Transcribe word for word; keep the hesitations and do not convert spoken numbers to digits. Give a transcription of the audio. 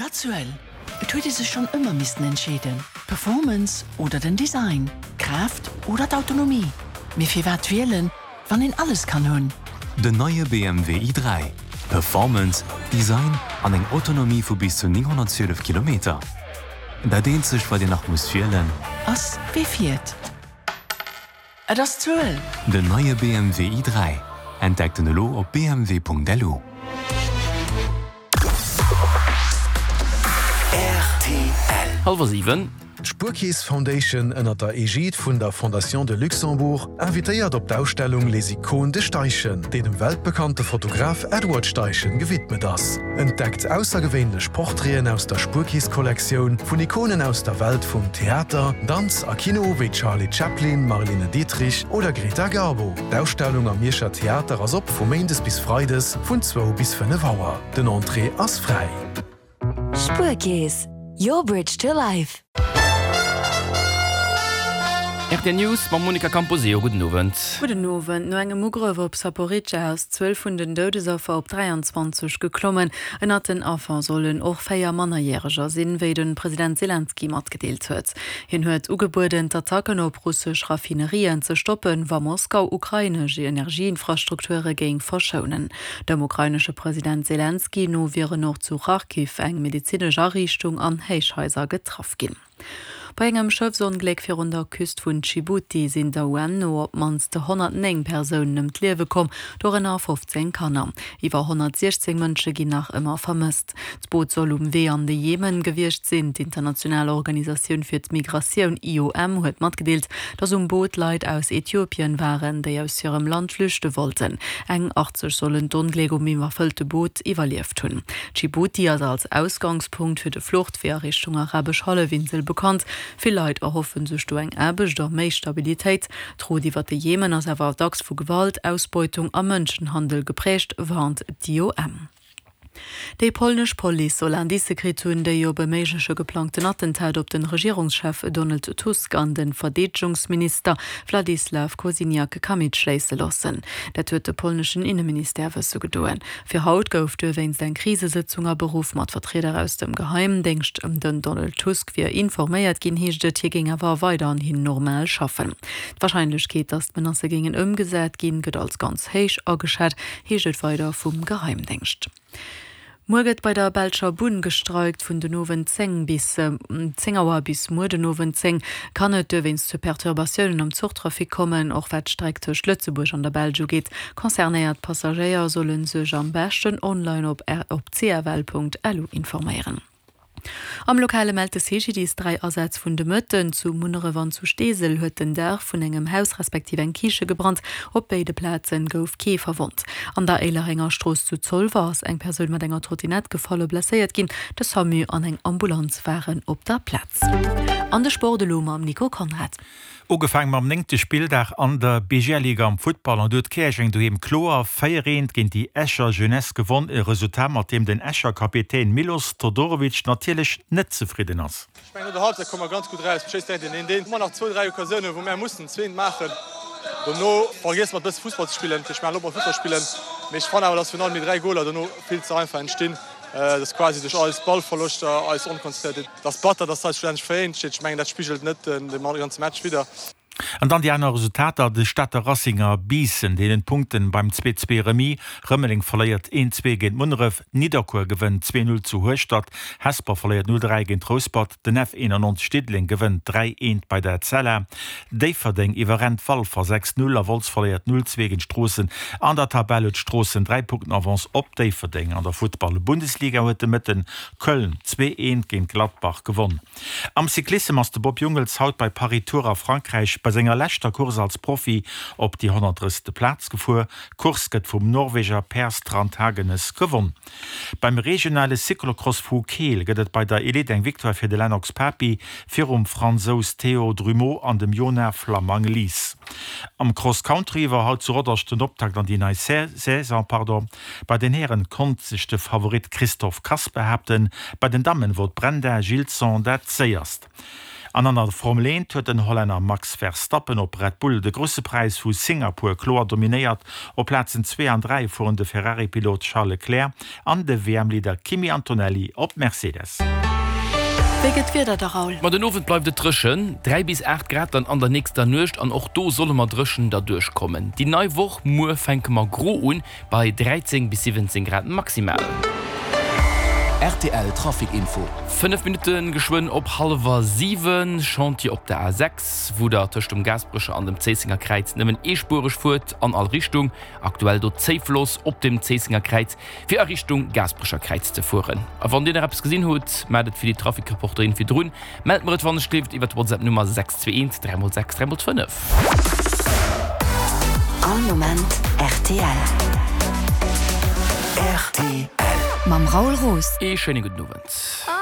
Egal. Et huet ee sech schonn ëmmer missten entscheeden. Performance oder den Design, Kraaft oder d'Autonomie. Mee firwat wielen, wann een alles kann hunn? Den neie B M W i dräi. Performance, Design an eng Autonomie vu bis zu nénghonnertzwielef Kilometer. Dat eenzegt, wat Dir nach musst wielen, ass wie fiert. Et ass d'Zuel. Den neie B M W i dräi. Entdeckt en elo op B M W Punkt L U. Hallwer siwen. D'Spuerkeess Foundation ënnert der Egide vun der Fondation de Luxembourg invitéiert op d'Ausstellung Les Icônes de Steichen, déi dem weltbekannte Fotograf Edward Steichen gewidmet ass. Entdeckt aussergewéinlech Portraiten aus der Spuerkeess-Kollektioun vun Ikonen aus der Welt vum Theater, Danz a Kino wéi Charlie Chaplin, Marlene Dietrich oder Greta Garbo. D'Ausstellung am Mierscher Theater ass op vu méindes bis freides vun zwou bis fënnef Auer. Den Entrée ass fräi. Spuerkeess, your bridge to life. R T L News mam Monica Camposeo. Gudden Owend. Gudden Owend. No engem Ugrëff op Saporizhzhia ass d'Zuel vun den Doudesaffer op dräianzwanzeg geklommen. Ënnert den Affer sollen och véier Mannerjäreger sinn, wéi de President Selenskyj matgedeelt huet. Hien huet ugebueden, d'Attacken op russesch Raffinerien ze stoppen, wa Moskau ukrainesch Energieinfrastrukture géing verschounen. Dem ukrainesche President Selenskyj no wieren och zu Charkiw eng medezinesch Ariichtung an Héichhaiser getraff ginn. Bei engem Schëffsongléck virun der Küst vun Dschibuti sinn der U N no op d'mannst honnertnéng Persounen ëm d'Liewe komm, dorënner fofzéng Kanner. Iwwer honnertsiechzéng Mënsche ginn nach ëmmer vermësst. D'Boot soll um Wee an de Jemen gewiescht sinn. D'international Organisatioun fir d'Migratioun I O M huet matgedeelt, datt um Boot Leit aus Äthiopien waren, déi aus hirem Land flüchte wollten. Eng achtzeg sollen d'Ongléck um iwwerfëllte Boot iwwerlieft hunn. Dschibuti ass als Ausgangspunkt fir de Fluchtwee a Richtung Arabesch Hallefinsel bekannt. Vill Leit erhoffe sech do eng Aarbecht a méi Stabilitéit. D'Route iwwer de Jemen ass awer dacks vu Gewalt, Ausbeutung a Mënschenhandel gepräägt, warnt d'I O M. Déi polnesch Police soll Indicë kritt hunn, déi op e méigleche geplangten Attentat op de Regierungschef Donald Tusk an de Verdeedegungsminister Władysław Kosiniak-Kamysz schléisse loossen. Dat huet de polneschen Inneministère wësse gedoen. Fir haut gouf dowéinst eng Krisesëtzung aberuff mat Vertrieder aus dem Geheimdéngscht. Den Donald Tusk wier informéiert ginn, heescht et, hie géing awer weiderhin normal schaffen. D'Warscheinlechkeet, datt d'Menacë géingen ëmgesat ginn, gëtt als ganz héich ageschat, heescht et weider vum Geheimdéngscht. Muer gëtt bei der belscher Bunn gestreikt. Vun den Owend zéng bis zéng Auer bis muer den Owend zéng kann et dowéinst zu Perturbatiounen am Zuchtrafic kommen, och wat d'Streck tëscht Lëtzebuerg an der Belsch ugeet. Concernéiert Passagéier solle sech am beschten online op op C F L Punkt L U informéieren. Am Lokale mellt de C G D I S dräi Asätz vun de Mëtten. Zu Munneref an zu Steesel huet den Daach vun engem Haus respektiv eng Kiche gebrannt. Op béide Plaze gouf kee verwonnt. An der Éilerenger Strooss zu Zolwer ass eng Persoun mat enger Trottinett gefall a blesséiert ginn. De SAMU an eng Ambulanz waren op der Plaz. An de Sport elo mam Nico Konrad. Ugefaangen mam néngte Spilldag an der B G L-Liga am Futtball an do huet Käerjeng doheem kloer véier eent géint déi Escher Jeunesse gewonn, e Resultat, mat deem den Escher Kapitän Milos Todorovic natierlech net zefridden ass. Ech mengen, no der Halbzeit komme mer ganz gutt raus, schéisst direkt den een ëmmer nach zwou, dräi Occasiounen, wou mer mussen zwee maachen. Dono vergiesse mer e bësse Fussball ze spillen, ech mengen, op Fussball spillen, mee ech fannen awer, dass virun allem déi dräi Goler dono vill ze einfach entstinn, dass quasi duerch eis Ballverloschter, eis Onkonzentréiert. Dat ass batter, dass eis schlussendlech véier eent steet. Ech mengen, dat spigelt net den ganze Match widder. An dann déi aner Resultater: De Stater Racing a Biissen deelen d'Punkten beim zwee zwee Remis, Rëmeleng verléiert een zwee géint Munneref, Nidderkuer gewënnt zwee null zu Hueschtert, Hesper verléiert null dräi géint Rouspert, den F éinannonzeg Diddeleng gewënnt dräi eent bei der Etzella, Déifferdeng iwwerrennt Walfer sechs null a Wolz verléiert null zwee géint Stroossen. An der Tabell huet Stroossen dräi Punkten Avance op Déifferdeng. An der Futtball-Bundesliga huet de Mëtten Köln zwee eent géint Gladbach gewonn. Am Cyclissem ass de Bob Jungels haut bei Paris-Tours a Frankräich bei senger leschter Course als Profi op déi honnertdrëssegste Plaz gefuer. D'Course gëtt vum Norweger Per Strand Hagenes gewonn. Beim regionale Cyclocross vu Keel gëtt et bei der Elite eng Victoire fir de Lennox Papi virum Fransous Théo Drumeau an dem Jonah Flamang-Lies. Am Cross Country war haut zu Rodange den Optakt an déi nei Saison. Pardon. Bei den Hären konnt sech de Favorit Christophe Kass behaapten, bei den Dammen wor d'Brenda Gilson dat Séierst. An an der Formel eent huet den Hollänner Max Verstappen op Red Bull de Grousse Präis vu Singapur kloer dominéiert. Op Plazen zwee an dräi fueren de Ferrari-Pilot Charles Leclerc an de W M-Leader Kimi Antonelli op Mercedes. Wéi gëtt d'Wieder da, Raoul? Ma den Owend bleift et dréchen, dräi bis aacht Grad dann an der nächster Nuecht an och do solle mer dréchen derduerch kommen. Déi nei Woch muer fänke mer gro un, bei dräizéng bis siwwenzéng Grad maximal. Rtl Trafic Info. Fënnef Minutte geschwënn op hallwer siwen, Chantier op der A sechs, wou der tëscht dem Gaasperecher an dem Zéissenger Kräiz nëmmen eespuereg fuert an all Richtung. Aktuell do Zéifloss op dem Zéissenger Kräiz fir a Richtung Gaasperecher Kräiz ze fueren. A wann dir nach eppes gesinn hutt, maacht et wéi déi Trafic-Reporterin virdrun, mellt mer et wann ech gleeft iwwer d'WhatsApp Nummer sechs zwee eent dräi mol sechs dräi mol fënnef. All Moment rtl. Rtl. Mam Raoul Roos. Ee schéine gudden Owend.